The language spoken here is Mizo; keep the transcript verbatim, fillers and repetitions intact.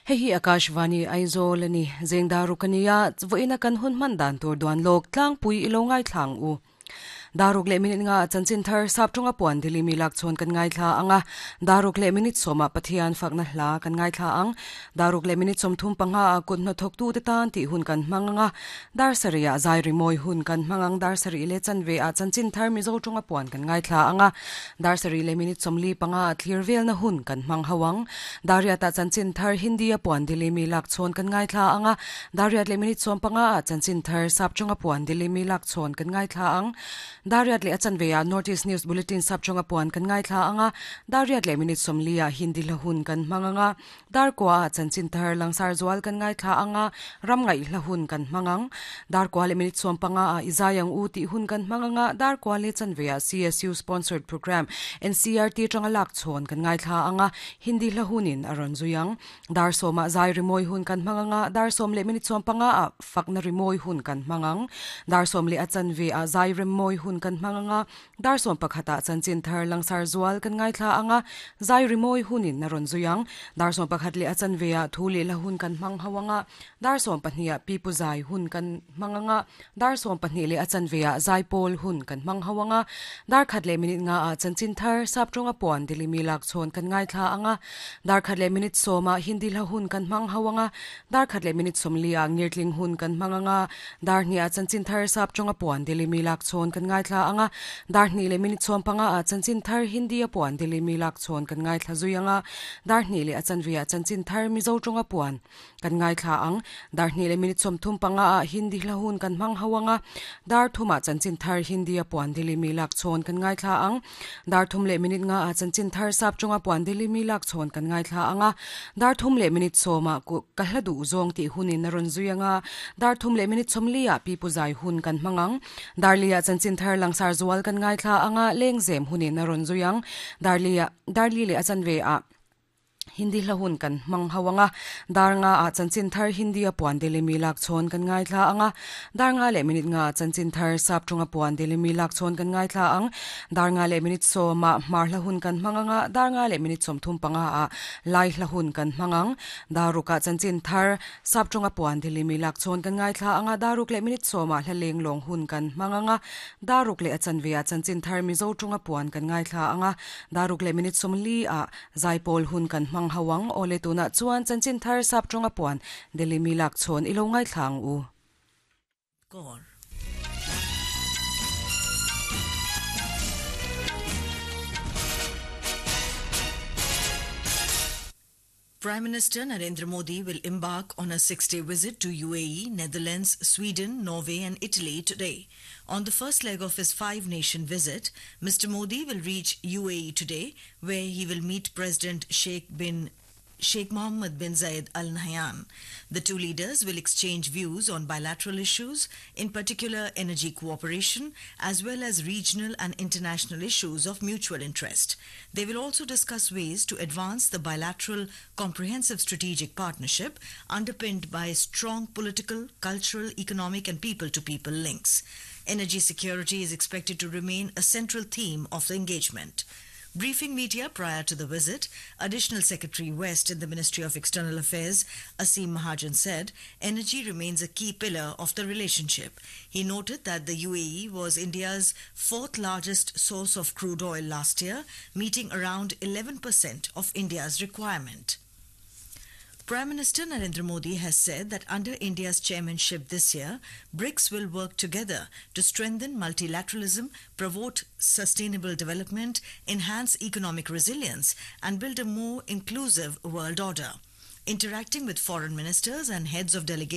Hei hi Akashvani Aizawl ani zengdaru kania voina kan hun man dan tur duan lok tlangpui ilo ngai thlang u daruk le minute nga chanchin thar sap tunga puan dili mi lak chon kan ngai thla anga daruk le minute soma pathian fakna hla kan ngai thla ang daruk le minute som thum panga kun na thok tu te tan ti hun kan manganga dar saria zai ri moi hun kan mangang dar sari le chanve a chanchin thar mi zo tunga puan kan ngai thla anga dar sari le minute som li panga thlir vel na hun kan mang hawang daria ta chanchin thar hindi a puan dili mi lak chon kan ngai thla anga daria le minute som panga chanchin thar sap tunga puan dili mi lak chon kan ngai thla ang Dariat le achanveya North East News Bulletin sap chonga puan kan ngai thla anga Dariat le minute somlia Hindi lahun kan manganga dar kwa chanchin thar langsar zual kan ngai thla anga ram ngai lahun kan mangang dar kwa le minute som panga a izayang u ti hun kan manganga dar kwa le chanveya C S U sponsored program N C R T chonga lak chon kan ngai thla anga Hindi lahunin aron zuyang dar soma zai rimoi hun kan manganga dar som le minute som panga a fakna rimoi hun kan mangang dar som le achanve a zai rimoi hun kan manganga dar som pakhata chanchin thar langsar zual kan ngai thla anga zai rimoi hunin naron zuyang dar som pakhat le achanveya thule la hun kan mang hawanga dar som pahnia pi puzai hun kan manganga dar som pahni le achanveya zai pol hun kan mang hawanga dar khat le minute nga a chanchin thar sap tonga pon dili mi lak chon kan ngai thla anga dar khat le minute soma hindi la hun kan mang hawanga dar khat le minute som lia ngirtling hun kan manganga dar ni a chanchin thar sap tonga pon dili mi lak chon kan ngai thla anga dar ni le minute chom panga a chanchin thar hindi a puan dili mi lak chon kan ngai thla zuyanga dar ni le achanvia chanchin thar mizo tonga puan kan ngai thla ang dar ni le minute chom thum panga a hindi lahun kan mang hawanga dar thuma chanchin thar hindi a puan dili mi lak chon kan ngai thla ang dar thum le minute nga a chanchin thar sap chonga puan dili mi lak chon kan ngai thla anga dar thum le minute soma ku kahla du zong ti hunin naron zuyanga dar thum le minute chomlia pi puzai hun kan mangang darlia chanchin thar langsar zual kan ngai thla anga lengzem hunin naron zuyang darlia darli le achanve a Hindi lahun kan mang hawanga darnga a chanchin thar Hindi a puan dili mi lak chon kan ngai thla anga darnga le minute nga chanchin thar sap thunga puan dili mi lak chon kan ngai thla ang darnga le minute so ma mar lahun kan manganga darnga le minute som thum panga a lai lahun kan mangang daruka chanchin thar sap thunga puan dili mi lak chon kan ngai thla anga daruk le minute so ma hlaleng long hun kan manganga daruk le achanvia chanchin thar mi zo thunga puan kan ngai thla anga daruk le minute som li a zaipol hun kan mang hawang ole tuna chuan chanchin thar sap tonga puan deli mi lak chon ilo ngai thlang u Kaur. Prime Minister Narendra Modi will embark on a six-day visit to U A E, Netherlands, Sweden, Norway and Italy today. On the first leg of his five-nation visit, Mister Modi will reach U A E today, where he will meet President Sheikh bin Sheikh Mohammed bin Zayed Al Nahyan. The two leaders will exchange views on bilateral issues, in particular energy cooperation, as well as regional and international issues of mutual interest. They will also discuss ways to advance the bilateral comprehensive strategic partnership underpinned by strong political, cultural, economic and people-to-people links. Energy security is expected to remain a central theme of the engagement. Briefing media prior to the visit, Additional Secretary West in the Ministry of External Affairs, Asim Mahajan, said energy remains a key pillar of the relationship. He noted that the U A E was India's fourth largest source of crude oil last year, meeting around eleven percent of India's requirement. Prime Minister Narendra Modi has said that under India's chairmanship this year, BRICS will work together to strengthen multilateralism, promote sustainable development, enhance economic resilience, and build a more inclusive world order. Interacting with foreign ministers and heads of delegations,